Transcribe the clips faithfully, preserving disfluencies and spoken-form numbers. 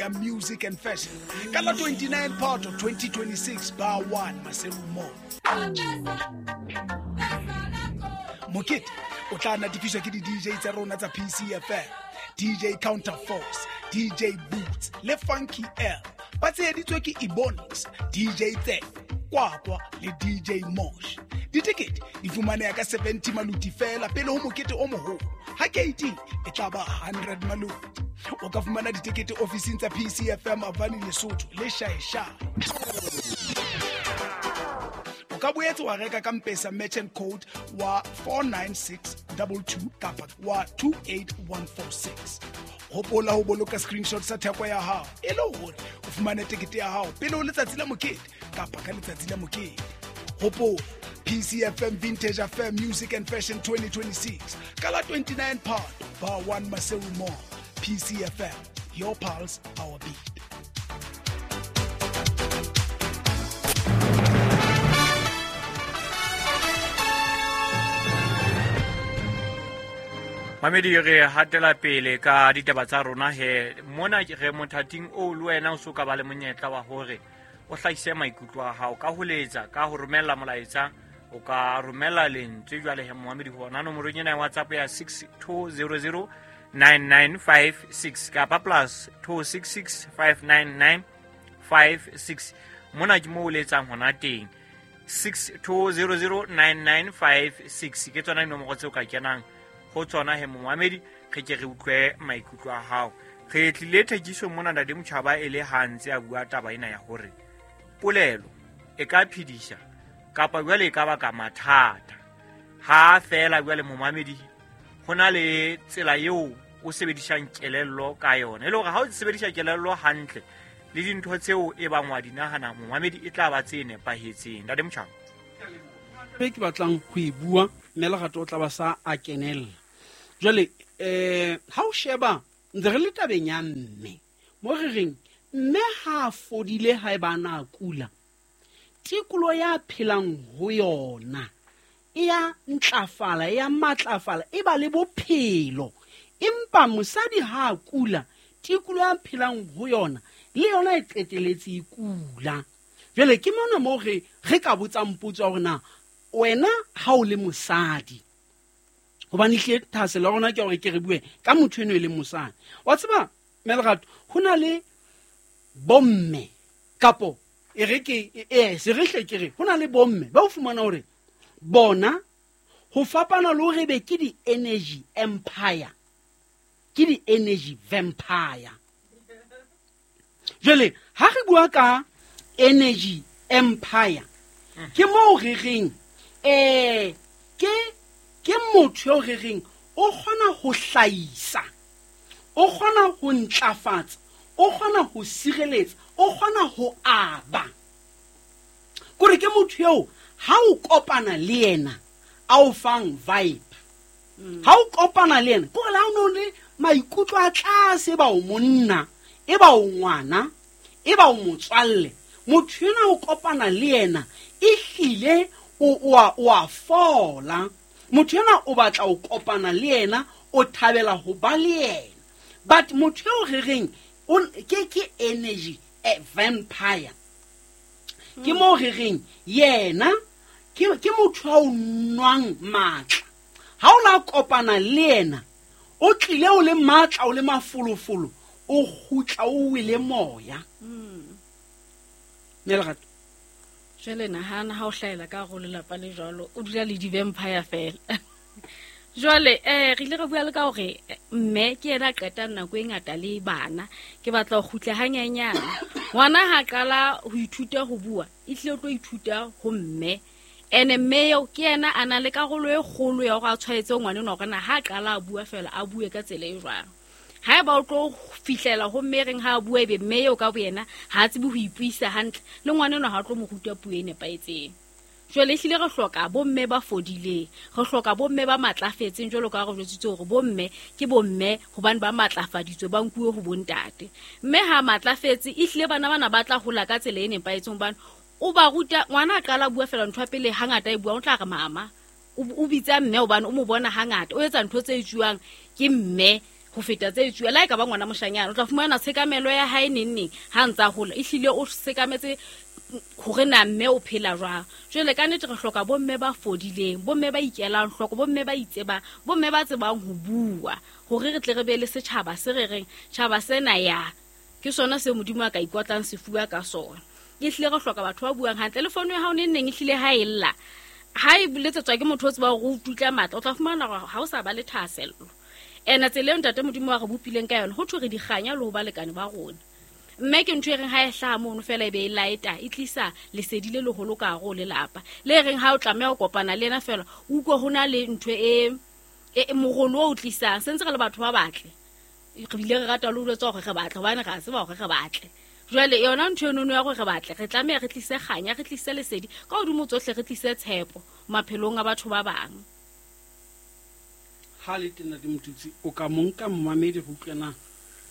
Music and Fashion ka la twenty-nine Phato twenty twenty-six bar one Maseru Mall. Mokete o tla natefiswa ke di D J tsa rona tsa P C F M, D J Counterforce, D J Boots le Funky L. Ba tsheheditswe ke Ebonics, D J Tse, Kwakwa le D J Mosh. Ditekete di fumaneha ka seventy maluti fela pele ho mokete o moholo. Ha keiti e tla ba hundred maluti. O ka fumana ditekete ofising tsa P C F M Avani Lesotho le Shaeshae. O ka boetse wa reka ka M-Pesa merchant code wa four nine six two two kapa wa two eight one four six. Hopola ho boloka screenshot sa theko ya hao e le hore o fumane tekete ya hao pele ho letsatsi la mokete kapa ka letsatsi la mokete. Hopola P C F M Vintage Affair Music and Fashion twenty twenty-six ka la twenty-nine Phato bar one Maseru Mall. P C F M, your pulse, our beat. Mamedi re hatela pele ka ditaba tsa rona he mona re mothating o le wena o so ka ba le monyetla wa hore o hlahise maikutlo a hao ka ho letsa ka ho romella molaetsa o ka romella lentswe jwale he momamedi hona nomorong ena ya WhatsApp ya six two zero zero nine nine five six kapa plus two six six five nine nine five six mona ke mo o letsang hona teng six two zero zero nine nine five six ke tsona dinomoro tseo ka kenang ho tsona he momamedi re ke re utlwe maikutlo a hao. Re tlile thekiso mona Ntate Motjhaba e le hantse a bua taba ena ya hore polelo e ka phedisha kapa jwale e ka baka mathata. Ha fela jwale momamedi ho na le tsela eo o sebedisang kelello ka yona e le hore ha o sebedisa kelello hantle le dintho tseo e bang wa di nahana momamedi e tla ba tse nepahetseng. Ntate Motjhaba, ke batlang ho e bua mme Lerato o tla ba sa a kenella. Jwale eh ha o sheba ntse re le tabeng ya mme mo re reng mme ha fodile ha e ba na kula tikolo ya phelang ho yona e ya ntlafala e ya matlafala e ba le bophelo, empa mosadi ha kula tikolo ya phelang ho yona le yona e qeteletse e kula. Jwale ke mona mo re re ka botsang potso ya hore na wena ha o le mosadi, hobane hle thaselo ya rona ke hore ke re bue ka motho eno e leng mosadi. Wa tseba Melerato ho na le bomme kapo e re ke e se re hle ke re ho na le bomme ba o fumana hore bona ho fapana le hore be ke di energy empire ke di energy vampire. Jwale ha re bua ka energy empire ke moo re reng eh ke ke motho eo re reng o kgona ho hlahisa, o kgona ho ntlafatsa, o kgona ho sireletsa, o kgona ho aba. Kore ke motho eo ha o kopana le yena a o fang vibe. Ha o kopana le yena kore la o no le maikutlo a tlase ba o monna, e ba o ngwana, e ba o motswalle, motho ena o kopana le yena e hlile o o a fola. Motho ena o batla o kopana le yena, o thabela ho ba le yena. But motho eo re reng ke ke energy a vampire ke mo re reng yena ke ke motho a o nwang matla. Ha o la kopana le yena o tlile o le matla o le mafolofolo o kgutla o wele moya. Melerato jwale nahana ha o hlahela ka hare ho lelapa le jwalo o dula le di-vampire fela. Jwale eh re ile re bua le ka hore mme ke yena a qetang nako e ngata le bana. Ke batla ho kgutla hanyenyana. Ngwana ha qala ho ithuta ho bua e tlile o tlo ithuta ho mme, ene mme eo ke yena a na le karolo e kgolo ya hore a tshwaetse ngwana enwa hore na ha qala a bua fela a bue ka tsela e jwang. Haeba o tlo fihlela ho mme reng ha a bua ebe mme eo ka boyena ha a tsebe ho ipuisa hantle le ngwana enwa ha tlo mo ruta puo e nepahetseng. Jwale ehlile re hloka bomme ba fodileng, re hloka bomme ba matlafetseng jwalo ka re jwetsitse hore bomme ke bomme hobane ba matlafaditswe ba nkuwe ho bontate. Mme ha matlafetse ehlile bana bana ba tla hola ka tsela e nepahetseng hobane o ba ruta ngwana a qala bua fela ntho ya pele hangata e bua o tla re mama o bitsa mme hobane o mo bona hangata o etsa ntho tse etsuwang ke mme. ho feta tse etsuwa. Le ha e ka ba ngwana moshanyana, o tla fumana tshekamelo ya hae neng neng ha ntsa hola, ehlile o sekametse hore na mme o phela jwang. Jwale ka nnete re hloka bomme ba fodileng, bomme ba ikelang hloko, bomme ba itsebang, bomme ba tsebang ho bua, hore re tle re be le setjhaba se re reng tjhaba sena ya ke sona se Modimo a ka ikotlang sefuba ka sona. Ehlile re hloka batho ba buang hantle. Le fono ya hao neng neng ehlile ha e lla, ha e letsetswa ke motho o tseba hore o tutla matla, o tla fumana hore ha o sa ba le thahasello. Ena tsela eo ntate Modimo a re bopileng ka yona, ho thwe re dikganya le ho balekane ba rona. Mme ke ntho e reng ha e hlaha mono fela e be e laeta, e tlisa lesedi le leholo ka hare ho lelapa. Le reng ha o tlameha ho kopana le yena fela, o utlwe ho na le ntho e, e morolo o tlisang. Se ntse re le batho ba batle, re bile re rata le ho jwetsa hore re batle, hobane re a tseba hore re batle. Jwale yona ntho eno ya hore re batle, re tlameha re tlise kganya, re tlise lesedi ka hodimo tsohle, re tlise tshepo maphelong a batho ba bang. Ha le tena di motutsi, o ka monka momamedi go utlwe na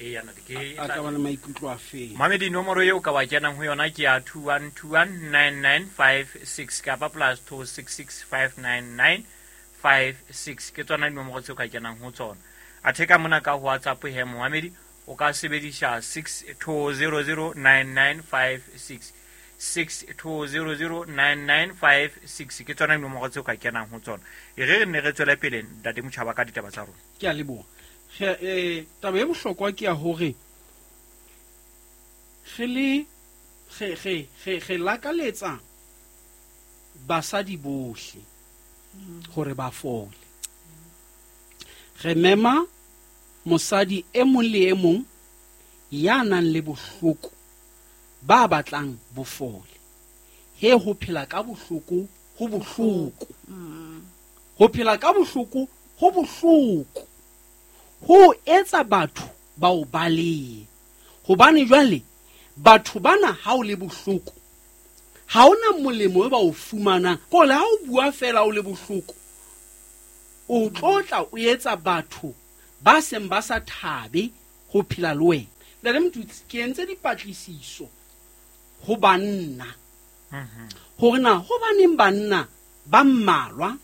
e yana ke a ka ba le maikutlo a feng. Mamedi, nomoro eo ka wa kenang ho yona ke ya two one two one nine nine five six kapa plus two six six five nine nine five six, ke tsona dinomoro tseo ka kenang ho tsona. Athe ka mona ka WhatsApp he momamedi o ka sebedisa six two zero zero nine nine five six, six two zero zero nine nine five six, ke tsona dinomoro tseo ka kenang ho tsona. E re re ne re tswele pele ntate Motjhaba ka ditaba tsa rona. Ke a leboha. Re eh taba e bohlokwa ke ya hore re le re re re re lakaletsa basadi bohle hore ba fole. Re mema mosadi e mong le e mong ya nang le bohloko ba batlang bofole. He ho phela ka bohloko ho bohloko. Ho phela ka bohloko ho bohloko. Ho etsa batho ba o balehe. Hobane jwale batho bana ha o le bohloko, ha ona molemo e ba o fumanang. Ko le ha o bua fela o le bohloko, o tlotla o etsa batho ba seng ba sa thabe ho phela le wena. Ntate Motutsi, ke entse dipatlisiso ho banna hore na hobaneng banna ba mmalwa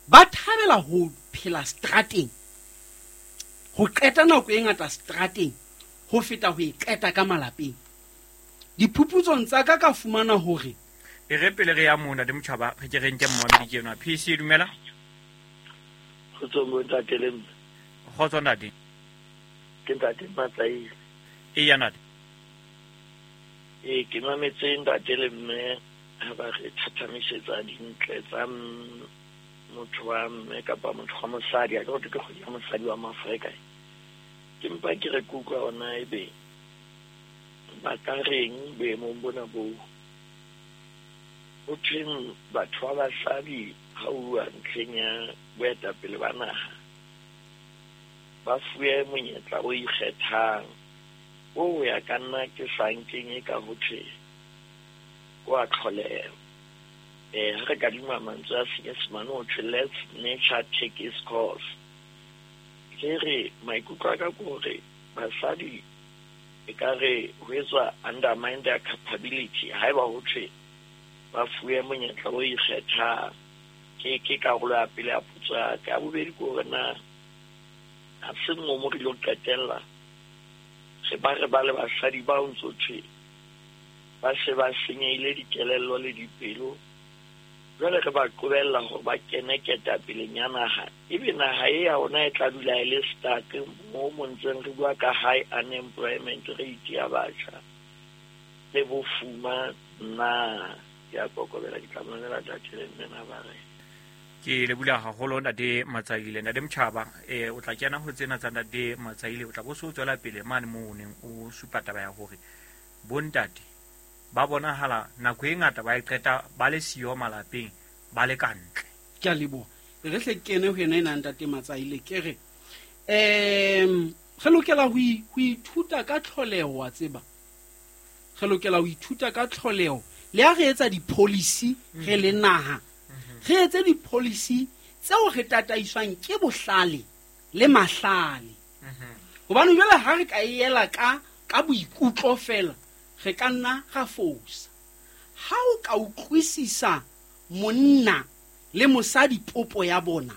ba thabela ho phela strateng, ho qeta nako e ngata strateng ho feta ho e qeta ka malapeng. Diphuputsong tsa ka ka fumana hore e re pele re ya mona ntate Motjhaba, re ke re nke mmamedi ke enwa. P C dumela. Kgotso mo ntate le mme. Kgotso ntate. Ke ntate Matsaile. E ya ntate. E ke mametse ntate le mme ha ba re thathamisetsa dintle tsa motho wa mme kapa motho wa mosadi, a ke ke kgwedi ya mosadi wa Maafrika. Ke mpa ke re kutlwa ona ebe ba ka reng boemong bona boo. Ho thweng batho ba basadi ha o bua ntlheng ya boetapele ba naha, ba fuwe monyetla o ikgethang o ya ka nna ke sa nkeng e ka ho thwe wa tlholeho. Eh ha re kadima mantswe a Senyesemane ho thwe let nature take its course. Ke re maikutlo a ka ke hore basadi e ka re ho etswa undermine their capability haeba ho thwe ba fuwe monyetla o ikgethang. Ke ke karolo ya pele ya potso ya ka. Ya bobedi ke hore na ha se mo mo re lo qetella re ba re ba le basadi ba o ntso thwe ba se ba senyehile dikelello le dipelo, jwale re ba qobella hore ba kene ketapeleng ya naha, ebe naha e ya rona e tla dula e le stuck mo mo ntseng re bua ka high unemployment rate ya batjha le bofuma. Nna ke a kokobela, ke tla mamela ntate le mme na ba re. Ke lebula haholo ntate Matsaile. Ntate Motjhaba, eh o tla kena ho tsena tsa ntate Matsaile, o tla bo so tswela pele mane moo o neng o supa taba ya hore bontate ba bonahala nako e ngata ba e qeta ba le siyo malapeng, ba le ka ntle. Ke a leboha. Re hle kene ho yena ena ntate Matsaile, ke re em re lokela ho ithuta ka tlholeho, wa tseba. Re lokela ho ithuta ka tlholeho. Le ha re etsa di-policy re le naha, re etse di-policy tseo re tataiswang ke bohlale le mahlale. Hobane jwale ha re ka ela ka ka boikutlo fela, re ka nna ra fosa. Ha o ka utlwisisa monna le mosadi popo ya bona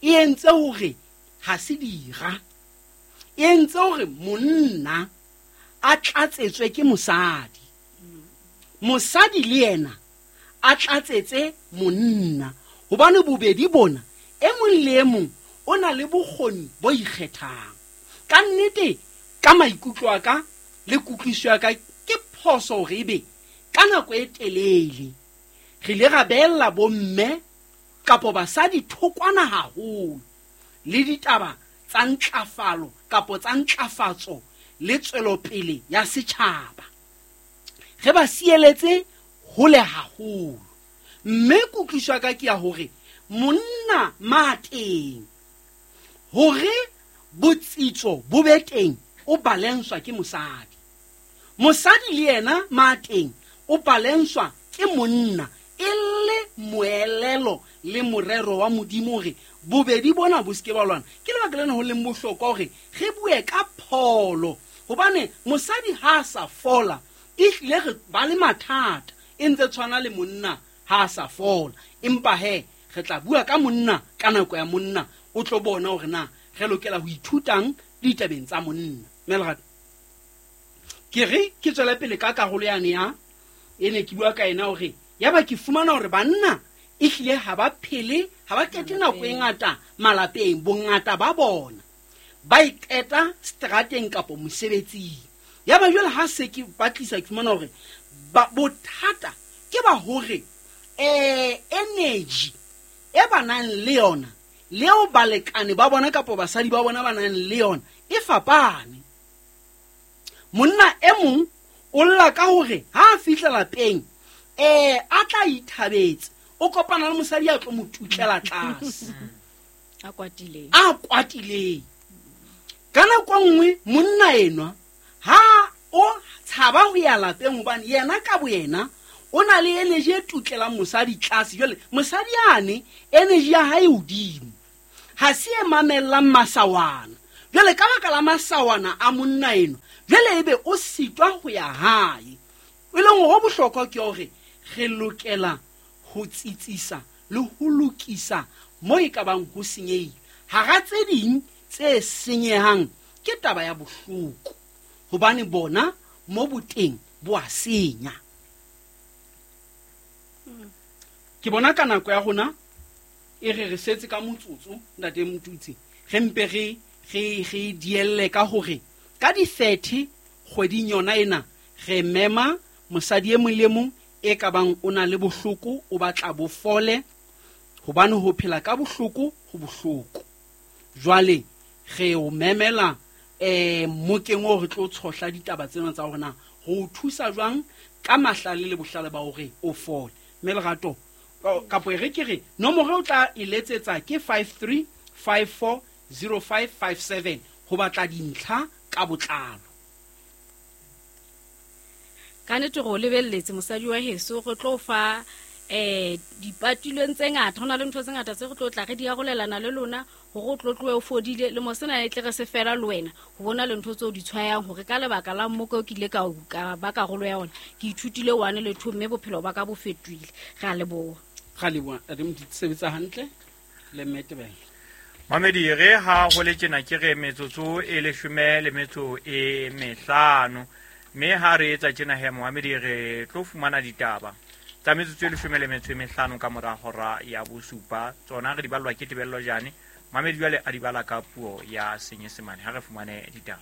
e entse hore ha se dira, e entse hore monna a tlatsetswe ke mosadi, mosadi le yena a tlatsetse monna, hobane bobedi bona e mong le e mong o na le bokgoni bo ikgethang. Ka nnete ka maikutlo a ka le kutlwisiso ya ka ke phoso hore ebe ka nako e telele re ile ra beella bomme kapo basadi thokwana haholo le ditaba tsa ntlafalo kapo tsa ntlafatso le tswelopele ya setjhaba. Re ba sieletse hole haholo. Mme kutlwisiso ya ka ke ya hore monna mateng hore botsitso bo be teng o balenswa ke mosadi, mosadi le yena mateng o balenswa ke monna, e le moelelo le morero wa Modimo hore bobedi bona bo seke ba lwana. Ke lebaka lena ho leng bohlokwa hore re bue ka pholo, hobane mosadi ha a sa fola e hlile re ba le mathata, e ntse tshwana le monna ha a sa fola. Empa he re tla bua ka monna ka nako ya monna, o tlo bona hore na re lokela ho ithutang ditabeng tsa monna. Mme Lerato, ke re ke tswele pele ka karolo yane ya e ne ke bua ka ena hore ya ba ke fumana hore banna e hlile ha ba phele, ha ba qete nako e ngata malapeng, bongata ba bona ba e qeta strateng kapo mosebetsing. Ya ba jwale ha se ke batlisa ke fumana hore bothata ke ba hore eh energy e ba nang le yona leo balekane ba bona kapo basadi ba bona ba nang le yona e fapane. Monna e mong o lla ka hore ha a fihla lapeng eh a tla ithabetse, o kopana le mosadi a tlo mo tutlela tlase a kwatileng a kwatileng. Ka nako nngwe monna enwa ha o tshaba ho ya lapeng hobane yena ka boyena o na le energy e tutlelang mosadi tlase. Jwale mosadi yane energy ya hae hodimo, ha se e mamellang masawana. Jwale ka baka la masawana a monna enwa, jwale ebe o sitwa ho ya hae. E leng hore bohlokwa ke hore re lokela ho tsitsisa le ho lokisa mo e ka bang ho senyehile. Hara tse ding tse senyehang ke taba ya bohloko, hobane bona mo boteng bo a senya. Ke bona ka nako ya rona e re re setse ka motsotso ntate Motutsi, re mpe re re re dielle ka hore ka di thirty kgweding yona ena re mema mosadi e mong le mong e ka bang o na le bohloko, o batla bo fole, hobane ho phela ka bohloko ho bohloko. Jwale re o memela eh mokeng o re tlo tshohla ditaba tsena tsa hore na ho thusa jwang ka mahlale le bohlale ba hore o fole. Mme Lerato, kapo e re ke re nomoro o tla e letsetsa ke five three five four zero five five seven ho batla dintlha ka botlalo. Ka nnete re o lebelletse mosadi wa heso, re tlo fa eh dipatilweng tse ngata, ho na le ntho tse ngata tse re tlo tla re di arolelana le lona hore o tlo tlohe o fodile le mosena e tle re se fela le wena ho bona le ntho tseo di tshwayang hore ka lebaka la mmoko ke ile ka ka ba karolo ya ona ke ithutile one le two mme bophelo ba ka bo fetohile. Re a leboha. Re a leboha. Re mo sebetsa hantle le Mmetebele. Mamedi re ha ho le tjena ke re metsotso e leshome le metso e mehlano, mme ha re etsa tjena he Mohamedi re tlo fumana ditaba tsa metsotso e leshome le metso e mehlano ka mora hora ya bosupa. Tsona re di ballwa ke Tebello Jane. Mamedi jwale a di bala ka puo ya Senyesemane. Ha re fumane ditaba.